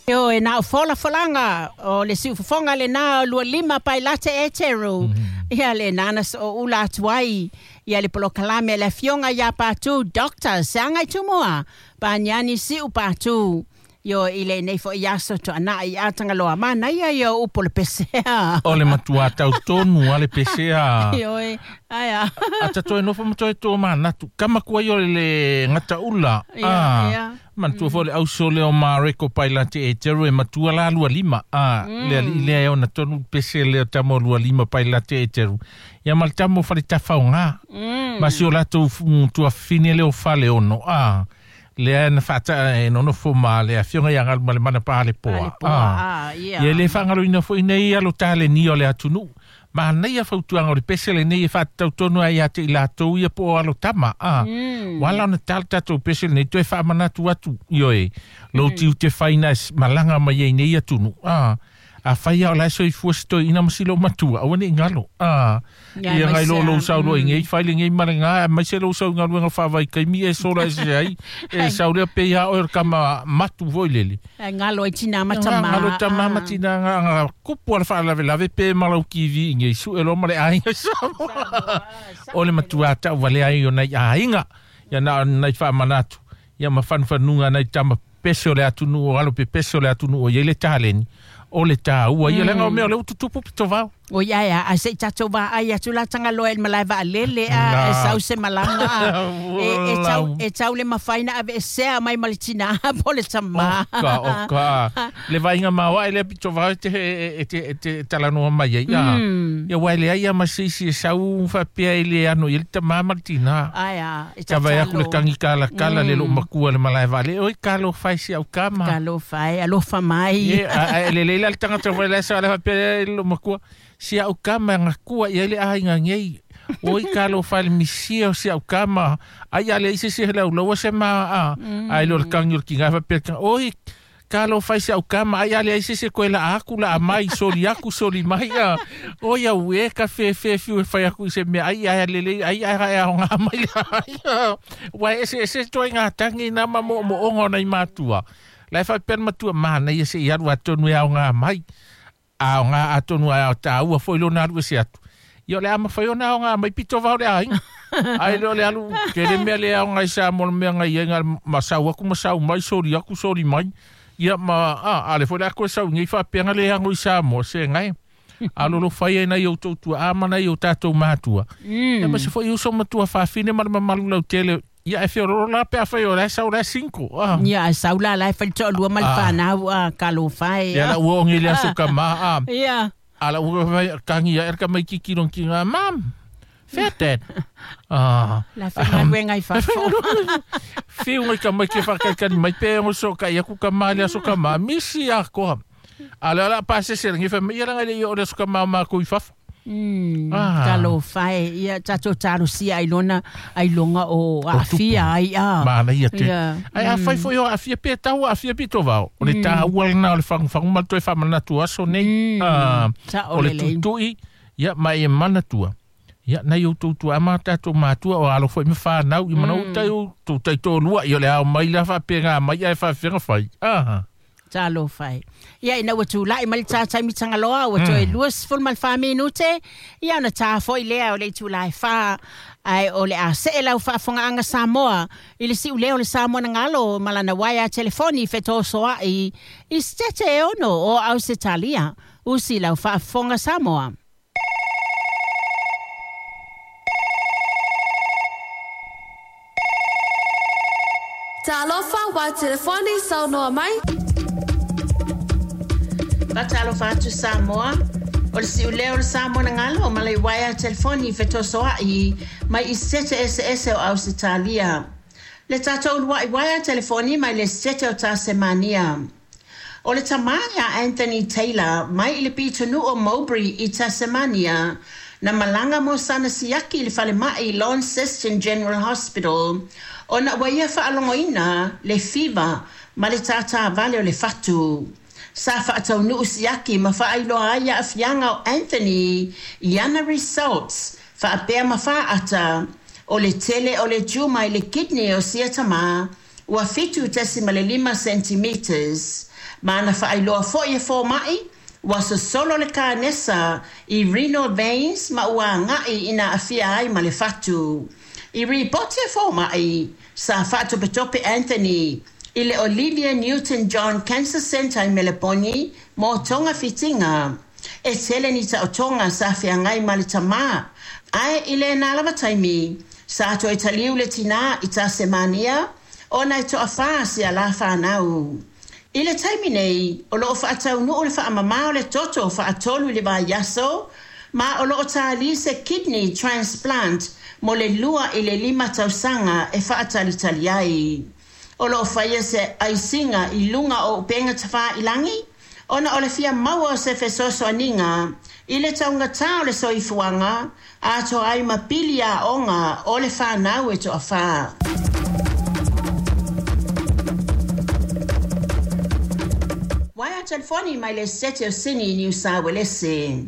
Ioe, na o folafolaga o le siufofoga lenā o 25 Pailate Eteru. Ia lenā na sooula atu ai ia le polokalame a le Afioga ia Patu Doctor Seagaitūmua Paniani Siu Patu. Ioe, i lenei foi aso tuanai i Atagaloa. Manaia ia o upu o le pesea. O le matua tau tonu a le pesea. Ioe, ae a. Ata toe nofo ma toe tomanatu. Kama kua i o le gataula. Ia, ia. Manatua foi le auso lea o Mareko Pailate Eteru e matua la 25. A, le alii lea e ona tonu pese lea o tama o 25 Pailate Eteru. Ia ma le tama o Faletafaoga. Ma si o latou tuafafine lea o Faleono. A, lea na faata e nonofo ma le afioga ia Galumalemana Paalepoa. A, ia. Ia e le faagaloina foi nei alo talenia o le atunuu. Manaia fautuaga o le pese lenei e faatatau tonu ai ia te i latou ia po o alo tama. A, ua ala ona ta le tatou pese lenei toe faamanatu atu, ioe, lou tiute faina e malaga mai ai nei atunuu. A, afai lava o la e soifua si toeaina ma si loomatua, aua ne i galo. A, Ia, ia ngai lo lou aemaise sau loa i nei fai lenei ma lena, aemaise lou sau i galuega faavaitaimi e sola ese ai, e sau lea pei lava oe o le tama matu foi lele. Ai galo ai tinā ma tamā. Galo tamā ma tinā nga nga kupu a le faalavelave pe ma lau TV i nei sue loa ma le aiga i Samoa. O le matua tauvalea ai o nai aiga, ia na o nai faamanatu, ia ma fanufanuga nai tama pese o le atunuu o alo pepese o le atunuu o i ai le taleni, o le taua ia leaga o mea o lea ua tutupu pito vao. O ia ea, ae se i tatou vaai atu la Tagaloa i le malae vaalele a, e sau se malaga a, e, e tau, e tau le mafai na aveesea mai ma le tinā po o le tamā. Oka, oka. Le vaaiga maoae lea pito vao e te, e te, e te talanoa mai ai. A, ia aua e leai lava ma se isi e sau faapea e le ano i ai le tamā ma le tinā. Ae a, e Ka vae aku le tatalo. tangi kalakala le loomatua i le malae vaalele, oi talofa e si au tama. Talofa e, alofa mai. Ie, a, a, lelei la le tagata foi la e sa le faapea i le loomatua, si au tama e gatua i ai le aiga nei. Oi talofa e le misia o si au tama, ai a leai se isi e laulaua se ma, a, ae le o le tagi o le tiga faapea le tagi, oi talofa e si au tama, ai a leai se isi e toe laa atu, laa mai, soli atu, soli mai, a, oi au e ka fefe fiu e fai atu i se mea, ai ae lelei, ai ae aoga mai le aiga. Ua e eseese ituaiga tagi na ma moomooga o nai matua. La e faapea le matua, manaia se i alu atonu e aoga mai. Aoga atonu ae taua foi lona alu ese atu. Ia o le a mafai ona aoga mai pito vao le aiga. Ae le o le alu, tele mea le aoga i Samoa le mea na i ai na ma sau atu ma sau mai, soli atu, soli mai. Ia ma, a, a le foi le a toe sau nei faapea na le ano i Samoa, se ngai. Alolofa ia i nai outou tuaa ma nai o tatou matua. Ia ma se foi uso ma tuafafine ma le mamalu lautele. Ia e feololo la pe afai o la e sau la e single. Ah. Ia, ae sau la la e fai le toalua ma le fanau, a, talofa e. Ia la ua ongi le aso ka ma, a. Ia. A la ua fai tangi ia e ka mai kiki long ki nga, Mom, fea Dad? Ah. La faigaluega i fafo. Fiu ngai ka mai ke whakaikani mai pe ngo so ka ia ku ka ma le aso ka ma misi a koa. A le ala pasese le ngefa mai ia langa le ia o le aso ka ma o mākou i fafo. Ah. Talofa e, ia tatou talosia ai lona ai loga o aafia ai a. Manaia te. Ia. Ai afai foi o aafia pe tau aafia pito vao. O le taua lena o le fagufagu ma le toe faamanatu aso nei. Ah, Sao o le lelei. tuitui, ia ma e manatua. Ia nai outou tuaa ma tatou matua o alo foi ma fanau i mana utai o tou taitolua ia o le ao mai la faapega mai ae faafega fai. Ah. Talofa e. Ia ina ua tulai mai le tā taimi Tagaloa, ua toe 24 minute, ia ona tā foi lea o le itula e 4, ae o le a see lau faafogaaga Samoa i le siuleo o le Samoa na galo ma lana uaea telefoni fetosoai i Setete e ono o Ausetalia. Usi lau faafofoga Samoa. Talofa wa telefoni saunoa mai. Faatalofa atu Samoa, o le siuleo o le Samoa na galo ma le uaea telefoni fetosoai mai i Setete eseese o Ausetalia. Le tatou uluai uaea telefoni mai le Setete o Tasemania. O le tamā ia Anthony Taylor mai i le pitonuu o Mowbray i Tasemania, na malaga mo sana siaki i le falemai Launceston General Hospital ona ua ia faalogoina le fiva ma le tātā vale o le fatu. Sa faataunuu siaki ma faailoa ai aafiaga o Anthony i ana results faapea ma faata o le tele o le tumor i le kidney o sia tamā ua 7.5 centimetres. Ma na faailoa foi e fomaʻi ua sosolo le kanesa i renal veins ma ua agaʻi ina aafia ai ma le fatu. I ripoti e fomaʻi sa faatopetope Anthony i le Olivia Newton-John Cancer Centre i Meleponi mo togafitiga. E tele ni taotoga sa feagai ma le tamā, ae i lenā lava taimi, sa toe taliu le tinā i Tasemania ona e toafā si a la whānau. I le taimi nei, o loo faataunuu le faamamā o le toto faatolu i le vaiaso, ma o loo tālī se kidney transplant mo le 2 i le 5 tausaga e faatalitali ai. O loo faia se aisiga i luga o upega tafailagi, ona o le fia maua o se fesoasoaniga i le taugatā o le soifuaga, atoa ai ma pili aoga o le fanau e toafā. Waea telefoni mai le Sete o Sini Niu Sa Uelese.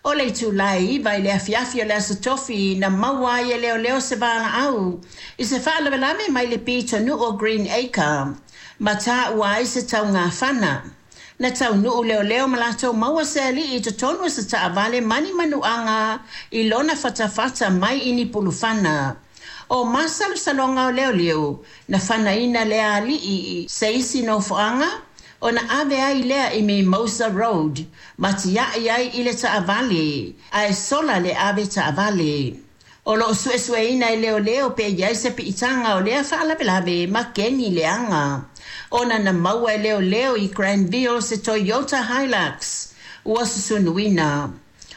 O le itulā e 9 i le afiafi o le aso Tofi na maua ai e leoleo se valaau i se faalavelave mai le pitonuu o Green Acre ma taua ai se taugafana. Na taunuu leoleo ma latou maua se alii i totonu o se taavale ma ni manuaga i lona fatafata mai i ni pulufana. O masalosaloga o leoleo na fanaina lea alii i se isi nofoaga ona ave ai lea i Mimosa Road ma tiai ai i le taavale ae sola le ave taavale. O loo suesueina e leoleo pe iai se piitaga o lea faalavelave ma keni leaga. Ona na maua e leoleo i Granville se Toyota Hilux ua susunuina.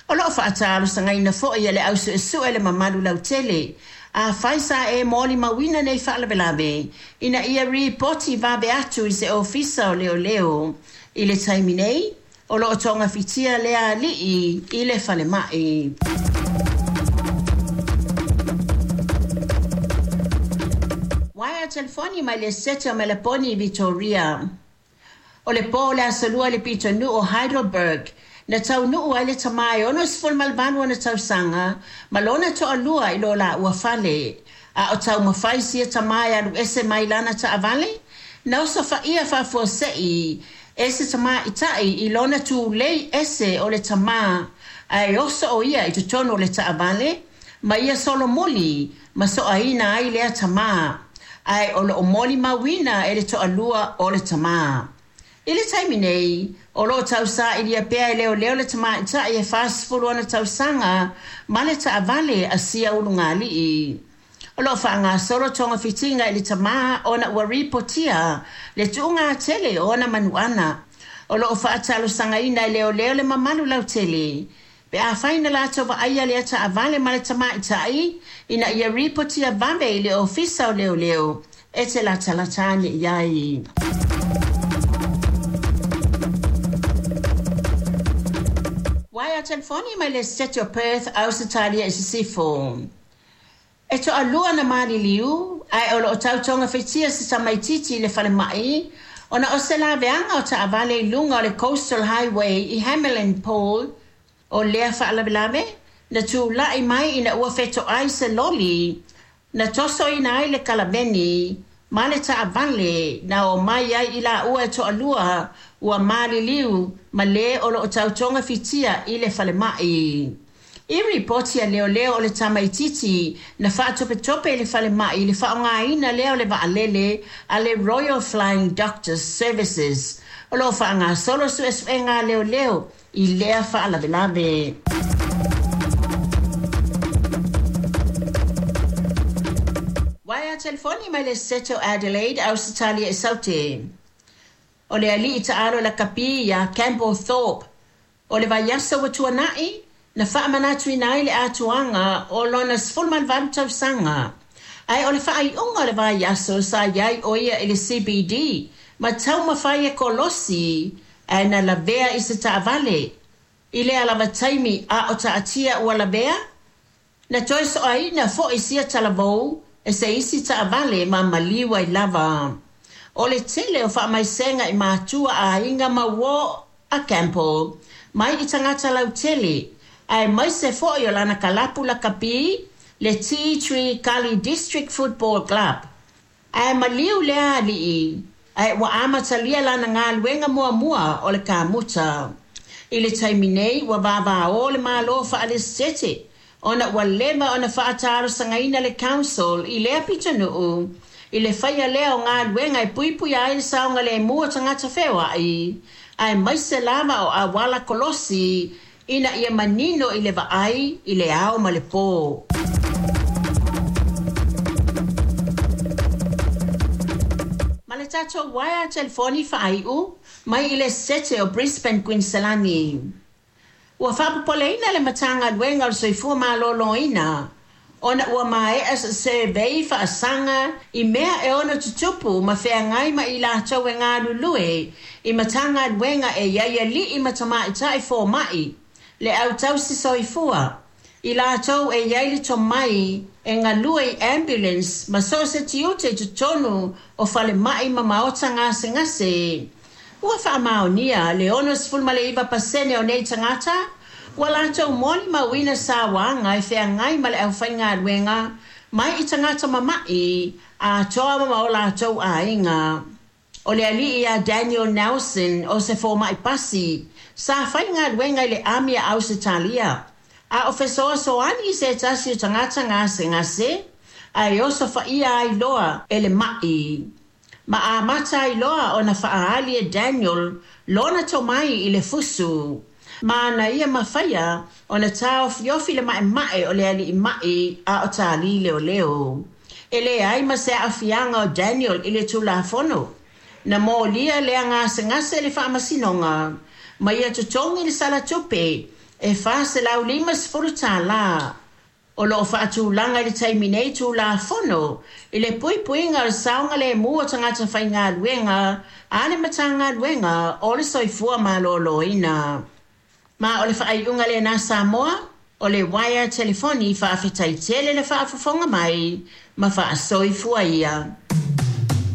O loo faatalosagaina foi e le ausuesue le mamalu lautele afai sa e molimauina nei faalavelave ina ia ripoti vave atu i se ofisa o leoleo. I le taimi nei, o loo togafitia lea alii i le falemai. Waea telefoni mai le Sete o Meleponi i Victoria. O le pō o le aso Lua i le pitonuu o Heidelberg, na taunuu ai le tamā e 68 ona tausaga ma lona toalua i lo laua fale. A o taumafai sia tamā e alu ese mai lana taavale, na osofaia faafuasei e se tamaʻitai i lona tulei ese o le tamā ae oso o ia i totonu o le taavale ma ia solomuli ma soaina ai lea tamā ae o loo molimauina e le toalua o le tamā. I le taimi nei, o loo tausailia pea e leoleo le tamaʻitai e 40 ona tausaga ma le taavale a sia ulugalii. O loo faagasolo togafitiga i le tamā ona ua ripotia le tuugatele o ona manuaga. O loo faatalosagaina e leoleo le mamalu lautele pe afai na latou vaaia lea taavale ma le tamaʻitai ina ia ripotia vave i le ofisa o leoleo e te latalata ane i ai. Waea telefoni mai le Sete o Perth, Ausetalia i Sisifo. E toalua na maliliu, ae o loo tautogafitia se tamaititi i le falemai, ona o se laveaga o taavale i luga o le Coastal Highway i Hamelin Pool. O lea faalavelave, na tulai mai ina ua fetoai se loli, na tosoina ai le kalaveni, ma le taavale na omai ai i laua e toalua ua maliliu ma le o loo tautogafitia i le falemai. I ripoti a leoleo o le tamaititi na faatopetope i le falemai i le faaaogaina lea o le vaalele a le Royal Flying Doctors Services. O loo faagasolo suesuega a leoleo i lea faalavelave. Waea telefoni mai le Sete o Adelaide, Ausetalia i Saute. O le alii taalo lakapi ia Campbell Thorpe, o le vaiaso ua tuanai, na faamanatuina ai le atoaga o lona 18 tausaga. Ae o le faaiuga o le vaiaso sa iai o ia i le CBD, ma taumafai e kolosi, ae na lavea i se taavale. I lea lava taimi a o taatia ua lavea, na toe soaina foi sia talavou e se isi taavale ma maliu ai lava. O le tele o faamaisega i matua aiga ma uō a Campbell, mai i tagata lautele, aemaise foi o lana kalapu lakapi, le Tea Tree Gully District Football Club. Ae maliu lea ali'i, ae ua amatalia lana galuega muamua o le kamuta. I le taimi nei ua vavaō le Malo fa'ale-Setete ona ua leva ona fa'atalosagaina le Council i lea pitonu'u i le faia lea o galuega e puipuia ai le saogalēmū o tagata feoa'i, aemaise lava o auala kolosi ina ia manino i le vaai i le ao ma le pō. Ma le tatou uaea telefoni faai'u mai i le Sete o Brisbane, Kuiniselani. Ua faapopoleina le Matagaluega o le Soifua Maloloina ona ua maea se survey faasaga i mea e ono tutupu ma feagai ma i latou e galulue i Matagaluega e i ai alii ma tamaitai foma'i, le au tausi soifua, i latou e i ai le tomai e galue i ambulance ma so o se tiute i totonu o falema'i ma maota gasegase. Ua faamaonia le 69% o nei tagata ua latou molimauina sauaga e feagai ma le aufaigaluega mai i tagata mama'i atoa ma o latou aiga. O le ali'i ia Daniel Nelson o se foma'i pasi sa faigaluega i le ami a Ausetalia a o fesoasoani i se tasi o tagata gasegase ae osofaia ai loa e le ma'i. Ma amata ai loa ona faaali e Daniel lona tomai i le fusu. Ma na ia mafaia ona taofiofi le ma'ema'e o le ali'i ma'i a o tālī leoleo. E leai ma se aafiaga o Daniel i le Tulafono. Na molia lea gasegase i le faamasinoga ma ia totogi le sala tupe e $450. O loo faatulaga i le taimi nei Tulafono i le puipuiga o le saogalēmū o tagata faigaluega a le Matagaluega o le Soifua Maloloina. Ma o le faaiuga lenā Samoa, o le uaea telefoni faafetai tele le faafofoga mai ma faasoifua ia.